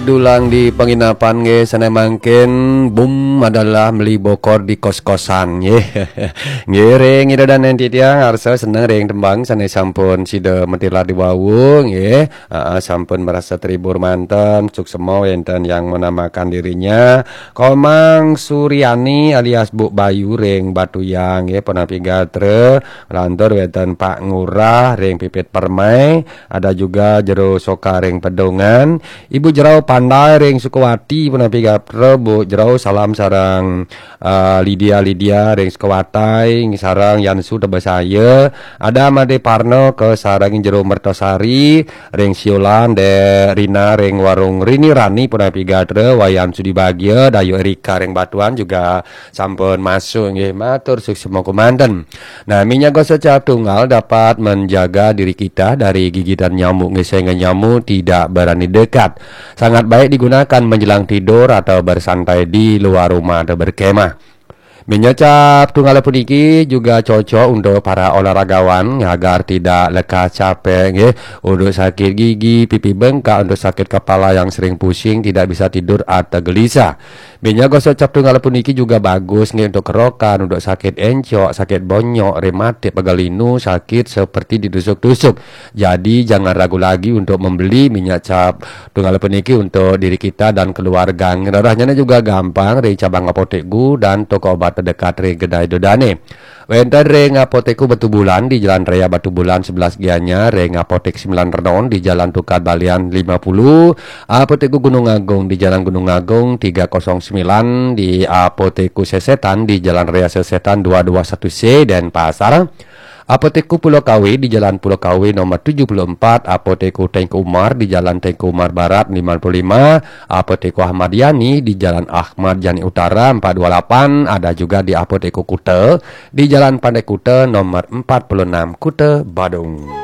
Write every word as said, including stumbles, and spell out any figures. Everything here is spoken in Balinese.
Dulang di penginapan nggih, sané mangkin boom adalah meli bokor di kos-kosan nggih. Nggih, ring Ida Dané titiang arsa seneng ring tembang sané sampun sida matilar di wau nggih. Aa, sampun merasa terhibur manten, suksema wénten yang menamakan dirinya Komang Suryani alias Bu Bayu ring Batuyang nggih, punapi gatra, lantur wénten Pak Ngurah ring Pipit Permai, ada juga Jero Soka ring Pedungan, Ibu Jerau Pandai ring Sukawati, punapi gatra Bu Jerau, salam sareng, eh, Lydia Lydia ring Sukawati, sareng Yansu Tebesaya, ada Made Parno ke sareng Jero Mertosari ring Siolan, Dek Rina ring Warung Rini Rani, punapi gatra, Wayan Sudi Bagia, Dayu Erika ring Batuan juga sampun masuk nggih, matur suksema kumanten. Nah, minyak gosok cap tunggal dapat menjaga diri kita dari gigitan nyamuk nggih, sehingga nyamuk tidak berani dekat. Sangat baik digunakan menjelang tidur atau bersantai di luar rumah atau berkemah. Minyak cap tunggal puniki juga cocok untuk para olahragawan agar tidak lekas capek nggih, untuk sakit gigi, pipi bengkak, untuk sakit kepala yang sering pusing, tidak bisa tidur atau gelisah. Minyak gosok cap tunggal puniki juga bagus nggih untuk kerokan, untuk sakit encok, sakit bonyok, rematik, pegal linu, sakit seperti ditusuk-tusuk. Jadi jangan ragu lagi untuk membeli minyak cap tunggal puniki untuk diri kita dan keluarga. Ngrerehnya juga gampang ring cabang apotek gu dan toko obat terdekat ring kedai Ida Dané. Wénten ring Apotekku Batubulan di Jalan Raya Batubulan sebelas Gianyar, ring Apotek Sembilan Renon di Jalan Tukad Balian lima puluh, Apotekku Gunung Agung di Jalan Gunung Agung tiga kosong sembilan, di Apotekku Sesetan di Jalan Raya Sesetan dua dua satu C Denpasar, Apotekku Pulau Kawe di Jalan Pulau Kawe nomor tujuh puluh empat, Apotekku Tengku Umar di Jalan Tengku Umar Barat lima puluh lima, Apotekku Ahmad Yani di Jalan Ahmad Yani Utara empat dua lapan, ada juga di Apotekku Kuta di Jalan Pantai Kuta nomor empat puluh enam, Kuta Badung.